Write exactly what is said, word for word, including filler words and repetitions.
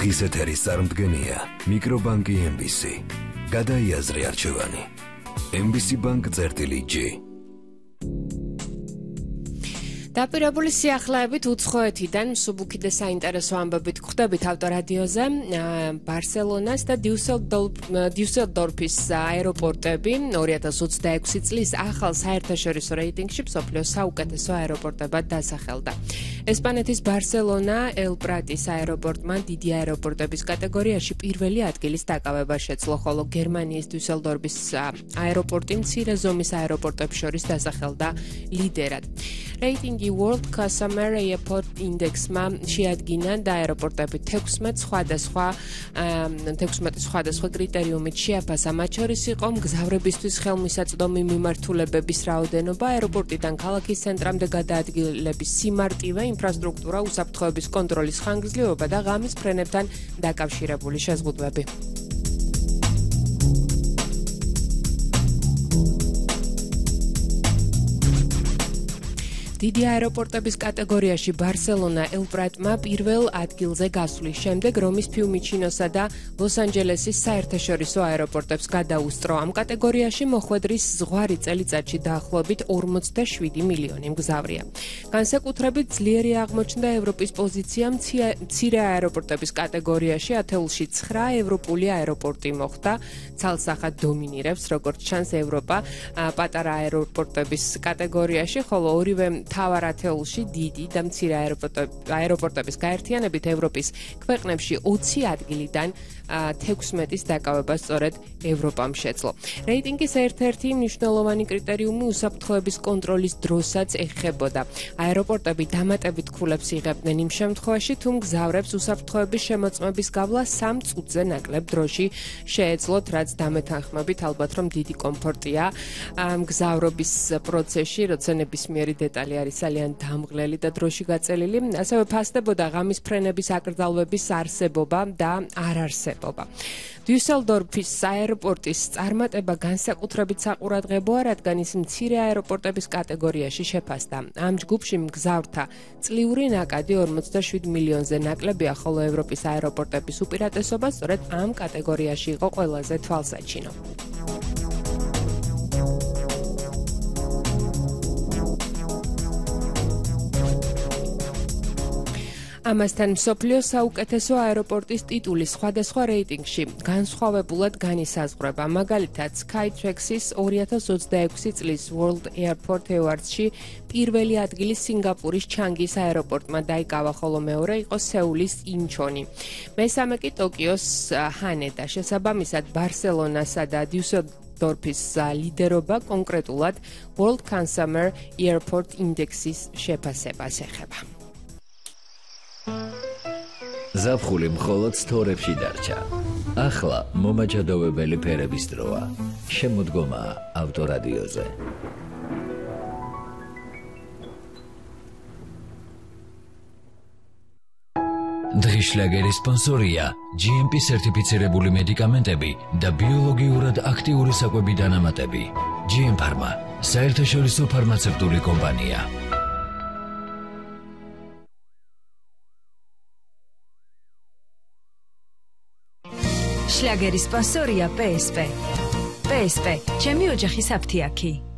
დღის ეთერის წარმდგენია მიკრობანკი ემ ბი სი. გადაიაზრე არჩევანი. ემ ბი სი ბანკ წერტილი ჯი. დაპირებული სიახლეებით უცხოეთიდან მსუბუქი და საინტერესო ამბებით გვხვდებით ავტორადიოზე. ბარსელონას და დიუსელდორფის აეროპორტები ორი ათას ოცდაექვსი წლის ახალ საერთაშორისო რეიტინგში მსოფლიოს საუკეთესო აეროპორტებად დასახელდა. ესპანეთის ბარსელონა ელ-პრატის აეროპორტმა დიდი აეროპორტების კატეგორიაში პირველი ადგილის დაკავება შეძლო, ხოლო გერმანიის დიუსელდორფის აეროპორტი მცირე ზომის აეროპორტებს შორის დასახელდა ლიდერად. რეიტინგი World Customer Airport Index-მა შეადგინა და აეროპორტები თექვსმეტ სხვადასხვა თექვსმეტ სხვადასხვა კრიტერიუმით შეაფასა. მათ შორის იყო მგზავრებისთვის ხელმისაწვდომი მიმართულებების რაოდენობა, აეროპორტიდან ქალაქის ცენტრამდე გადაადგილების სიმარტივე, ინფრასტრუქტურა, უსაფრთხოების კონტროლის ხანგრძლივობა და ღამის ფრენებთან დაკავშირებული შეზღუდვები. დიდი აეროპორტების კატეგორიაში ბარსელონა ელ-პრატმა პირველ ადგილზე გასვლის შემდეგ რომის ფიუმიჩინოსა და ლოს-ანჯელესის საერთაშორისო აეროპორტებს გადაუსწრო. ამ კატეგორიაში მოხვედრის ზღვარი წელიწადში დაახლოებით ორმოცდაშვიდი მილიონი მგზავრია. განსაკუთრებით ძლიერი აღმოჩნდა ევროპის პოზიცია მცირე აეროპორტების კატეგორიაში, ათეულში ცხრა ევროპული აეროპორტი მოხვდა. ცალსახად დომინირებს, როგორც ჩანს, ევროპა პატარა აეროპორტების კატეგორიაში, ხოლო ორივე თავარ ათეულში დიდი და მცირე აეროპორტების გაერთიანებით ევროპის ქვეყნებში ოცი ადგილიდან თექვსმეტის დაკავება სწორედ ევროპამ შეძლო. რეიტინგის ერთ-ერთი მნიშვნელოვანი კრიტერიუმი უსაფრთხოების კონტროლის დროსაც ეხებოდა. აეროპორტები დამატებით ქულებს იღებდნენ იმ შემთხვევაში, თუ მგზავრებს უსაფრთხოების შემოწმების გავლა სამ წუთზე ნაკლებ დროში შეეძლოთ, რაც დამეთანხმებით ალბათ რომ დიდი კომფორტია მგზავრობის პროცესში, როცა ნებისმიერი დეტალი არის ძალიან დამღლელი და დროში გაწელილი. ასევე ფასდებოდა ღამის ფრენების აკრძალვების არსებობა და არარსებობა. დიუსელდორფის აეროპორტის წარმატება განსაკუთრებით საყურადღებოა, რადგან ის მცირე აეროპორტების კატეგორიაში შეფასდა. ამ ჯგუფში მგზავრთა წლიური ნაკადი ორმოცდაშვიდ მილიონზე ნაკლებია, ხოლო ევროპის აეროპორტების უპირატესობა სწორედ ამ კატეგორიაში იყო ყველაზე თვალსაჩინო. ამასთან მსოფლიოს საუკეთესო აეროპორტის ტიტული სხვადასხვა რეიტინგში განსხვავებულად განისაზღვრება. მაგალითად, Skytrax-ის ორი ათას ოცდაექვსი წლის World Airport Awards-ში პირველი ადგილი სინგაპურის ჩანგის აეროპორტმა დაიკავა, ხოლო მეორე იყო სეულის ინჩონი. მესამე კი ტოკიოს ჰანედა. შესაბამისად, ბარსელონასა და დიუსელდორფის ლიდერობა კონკრეტულად World Customer Airport Index-ის შეფასებას ეხება. ზაფხული მხოლოდ სტორებში დარჩა. ახლა მომაჯადოვებელი ფერების დროა. შემოდგომაა ავტორადიოზე. დღის შლაგერის სპონსორია ჯი ემ პი სერტიფიცირებული მედიკამენტები და ბიოლოგიურად აქტიური საკვები დანამატები. ჯი ემ ფარმა, საერთაშორისო ფარმაცევტული კომპანია. შლაგერის სპონსორია პე ეს პე. პე ეს პე, ჩემი ოჯახის აფთიაქი.